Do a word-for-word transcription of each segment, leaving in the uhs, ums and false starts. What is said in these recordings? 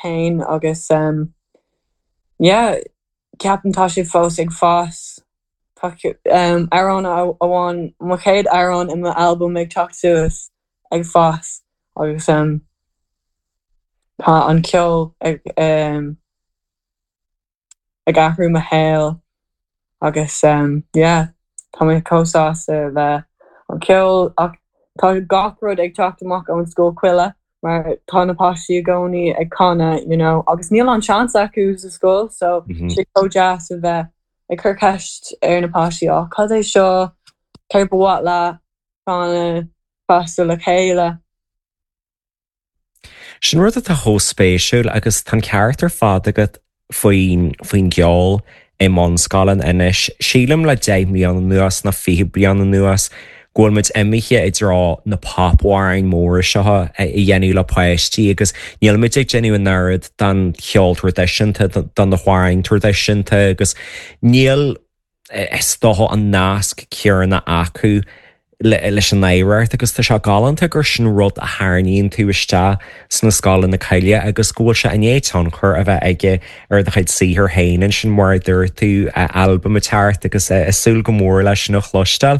féin agus um, yeah, ceapaim tá sé fós ag fás Tá um, amhrán amháin mo chéad amhrán i m'album ag teacht suas ag fás agus um, tá an ceol ag um, ag athrú mo shaol agus um, yeah, tá mé chomh sásta le an ceol ach tá gach rud ag teacht amach ón Scoil Choille mar tá na páistí i gcónaí ag canadh you know, agus níl an seans acu sa scoil so mm -hmm. sé chomh deas a bheith ag cur ceist ar na páistí á cad é seo céard ba mhaith le canadh feasta le chéile. Sin rud atá chomh spéisiúil agus tá ceart ar fad agat faoin faoin gceol i mbunscoileanna anois. Sílim le deich mbliana anuas nó fiche bliain anuas go bhfuil muid imithe i dtreo na popamhráin móra seo a dhéanamh le páistí agus níl muid ag déanamh an oiread den cheol traidisiúnta den na hamhráin traidisiúnta agus níl is dócha an nasc céanna acu leis an oidhreacht agus tá sé galánta gur sin rud a tharraingíonn tú isteach sna scoileanna coille agus go bhfuil sé i ndiaidh tionchar a bheith aige ar do chuid saothar féin ansin mar a dúirt tú albam teacht agus ag súil go mór leis sin a chloisteáil.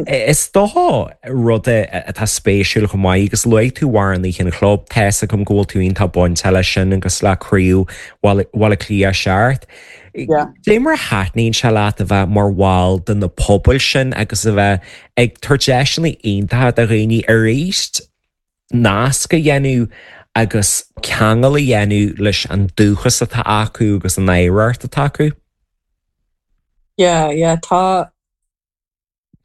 Is dócha rud atá spéisiúil chomh maith agus luaigh tú amhránaithe an chlub tá agam go bhfuil tú iontach bainte leis sin agus le Craobh Bhaile Cliath seacht. Dé mar thaitníonn sé leat a bheith mar bhall de na pobail sin agus a bheith ag tabhairt deiseanna iontacha do dhaoine arís nasc a dhéanamh agus ceangal a dhéanamh leis an dúchas atá acu agus an oidhreacht atá acu? Yeah, yeah, tá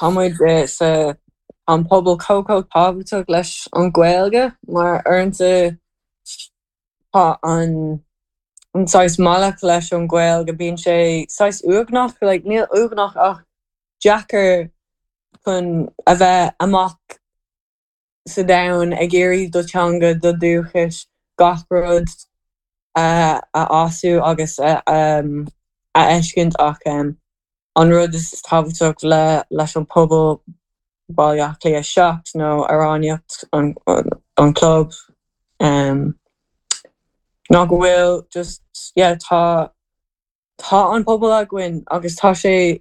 tá muid sa an pobal chomh chomh tábhachtach leis an Ghaeilge mar uaireanta tá an an saghas bealach leis an Ghaeilge bíonn sé saghas uaigneach like, níl uaigneach ach deacair chun a bheith amach sa domhan ag iarraidh do teanga do dúchais gach rud a a fhású agus a um, a fheiscint ach um, an rud is tábhachtach le leis an pobal Baile Átha Cliath seacht nó amhránaíocht an, an, an club um, ná go bhfuil just yeah, tá tá an pobal againn agus tá sé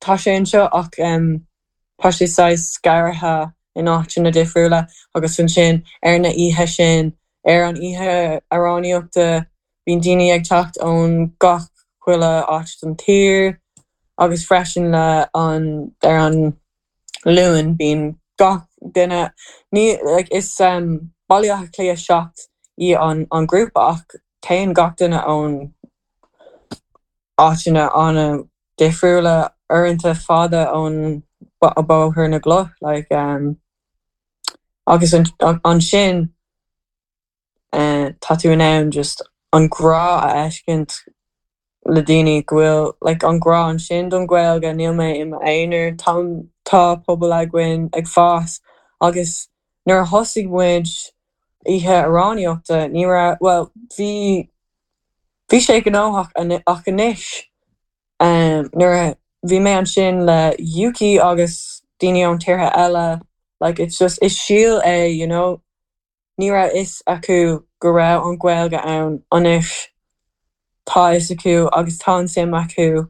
tá sé anseo ach um, tá sé saghas scartha in áiteanna difriúla agus ansin ar na oíche sin ar an oíche amhránaíochta bíonn daoine ag teacht ón gach chuile áit den tír agus freisin le an ar an Luan bíonn gach duine ní like, is um, Baile Átha Cliath seacht í an an grúpa ach téann gach duine ón áiteanna an-difriúla uaireanta fada ón Bóthar na gCloch like, um, agus an, ansin uh, tá tú in ann just an grá a fheiscint le daoine go bhfuil like, an grá ansin don Ghaeilge níl mé i m'aonar tá tá pobal againn ag fás agus nuair a thosaigh muid oíche amhránaíochta ní raibh well bhí bhí sé gnóthach ach anois um, nuair a bhí mé ansin le Yuki agus daoine ón tíortha eile like it's just is síol é you know ní raibh fhios acu go raibh an Ghaeilge ann anois tá fhios acu agus tá an suim acu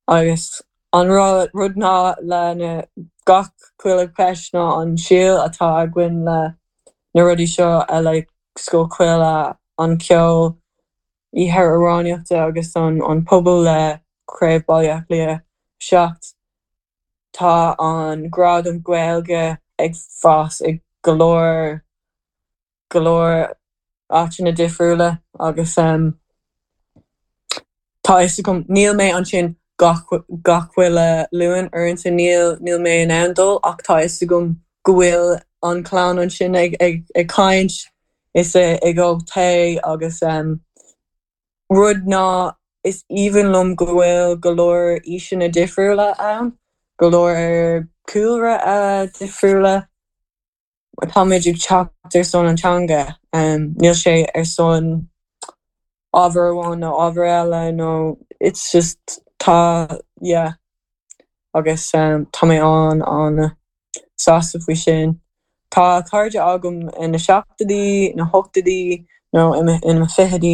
agus an rud rud ná le na gach chuile cheist ná an síol atá againn le na rudaí seo a like Scoil Choille an ceol oíche amhránaíochta agus an an pobal le Craobh Baile Átha Cliath seacht tá an grá don Ghaeilge ag fás ag go leor go leor áiteanna difriúla agus um, tá fhios agam níl mé ansin gach gach chuile Luan uaireanta níl níl mé in ann dul ach tá fhios agam go bhfuil an clann ansin ag ag ag caint is ag ól tae agus um, rud ná is aoibhinn liom go bhfuil go leor aoiseanna difriúla ann, go leor cúlra uh, difriúla Táimid ag teacht ar son an teanga um, níl sé ar son ábhar amháin nó ábhar eile nó it's just tá yeah agus um, tá mé an an sásta faoi sin. Tá cairde agam ina seachtóidí, na hochtóidí nó ina fichidí